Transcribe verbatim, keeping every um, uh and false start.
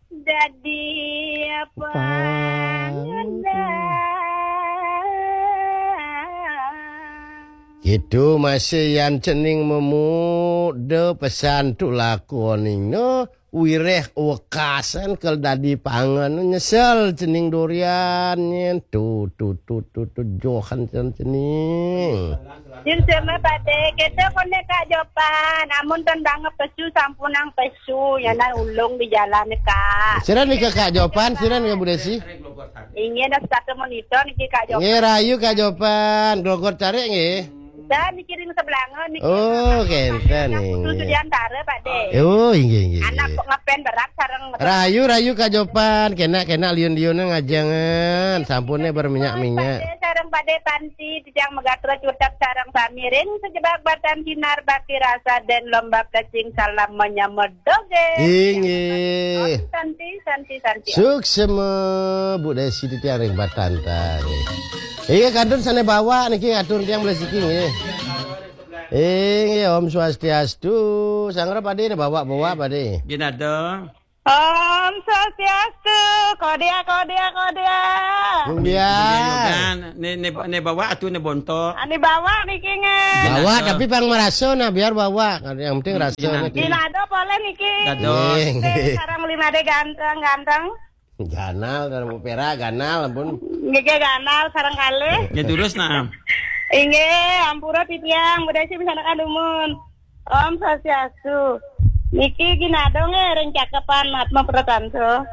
Dadi pangenah. Gitu masih yan cening memuda pesan tu lakoning no wireh wekasan kel dadi pangan nyesel cening durian nyen tu tu tu tu tu johan cen cening. Jin sema pade, kita kone Kak Jopan, amun ten banget pesu sampunang pesu, yanan ulung di jalan Kak. Siran nika Kak Jopan, siran nika Bu Desi. Inggih, dah satu monitor niki Kak Jopan. Nggih, rayu Kak Jopan, Glogor Carik nggih. Dan niki ring sebelah niki. Oh, kenten nggih. Susu diantara pade. Oh, inggih inggih. Anak kok ngepen berat sareng. Rayu rayu Kak Jopan, kena kena liun-liun ngajengan, sampune berminyak-minyak. Pade sareng pade panti, titiang megatra cutet sareng samiring, sejebak batan sinar bakti rasa dan lomba plecing salam menyambut doge. Inggih. Santi, santi, santi. Suksema Bu Desi titiang ring batan tadi. Iya kantun sane bawa niki atur tiang belas iki nggih. Inggih Om Swastiastu. Sanggra pade bawa-bawa pade. Ginado. Om Swastiastu. Kodia, kodia, kodia. Kodia. Yogan, ne ne ne bawa atu ne bonto. Ani bawa niki nge. Bawa tapi pang merasa nah biar bawa. Yang penting rasa niki. Ginado boleh niki. Dados. Nggih. Sarang lima de ganteng, ganteng. Ganal dan pera ganal ampun. Nggih ganal sareng kalih. Nggih terus nah. Inggih, ampura titiang, Bu Desi misalkan dumun. Om Swastiastu. Niki ginado nggih ring cakepan Atma Pratansa.